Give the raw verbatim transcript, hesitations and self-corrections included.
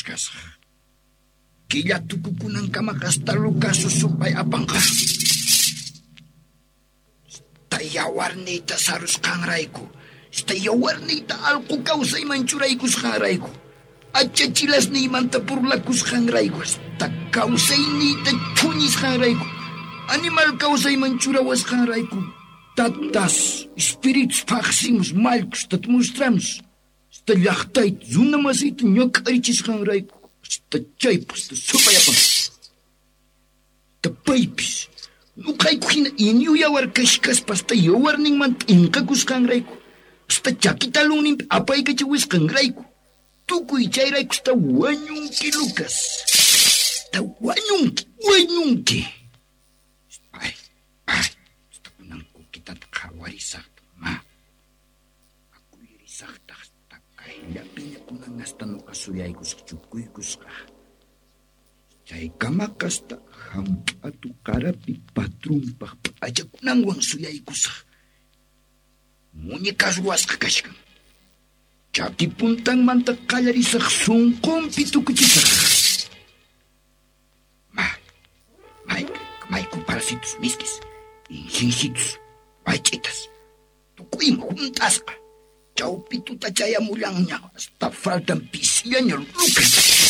Kasaq. Killa tukukunankamaqa hasta Lucas supay apanqa. Hasta yawarniyta sarusqanrayku, hasta yawarniyta allqu kawsayman churaykusqanrayku, achachilasniymanta burlakusqanrayku, hasta kawsayniyta thuñisqanrayku, animal kawsayman churawasqanrayku, tatas, espíritus phaqsimus, mallkus, mostramos, hasta llaqtayta, runa masiyta ñak'arichisqanrayku, hasta chaypaq hasta supay apanqa. Hasta paypis, nuqayku hina inyu yawar kashkaspa hasta yawarninmanta p'inqakusqanrayku, hasta chaki talunninpi apaykachawisqanrayku, tukuy chayrayku hasta wañunki, Lucas. Hasta wañunki, wañunki. Ay, ay, hasta kunan kukitata qhawarisaqta, ma. Akuyirisaqtaq hasta kayllapiña kunan hasta nuqa suyaykusaq chukuykusqa. Chaykamaqa hasta hamp'atu qarapi patrunpaq p'achakunanwan suyaykusaq. Muñecas ruwasqa kashkan. Chaki puntanmanta qallarisaq sunqunpi tukuchisaq. Ma, may, mayku parasitos miskis, insinsitos, waych'itas, tukuyma hunt'asqa. Chawpi tuta chayamullanña, hasta faltan pisillaña, Lucas.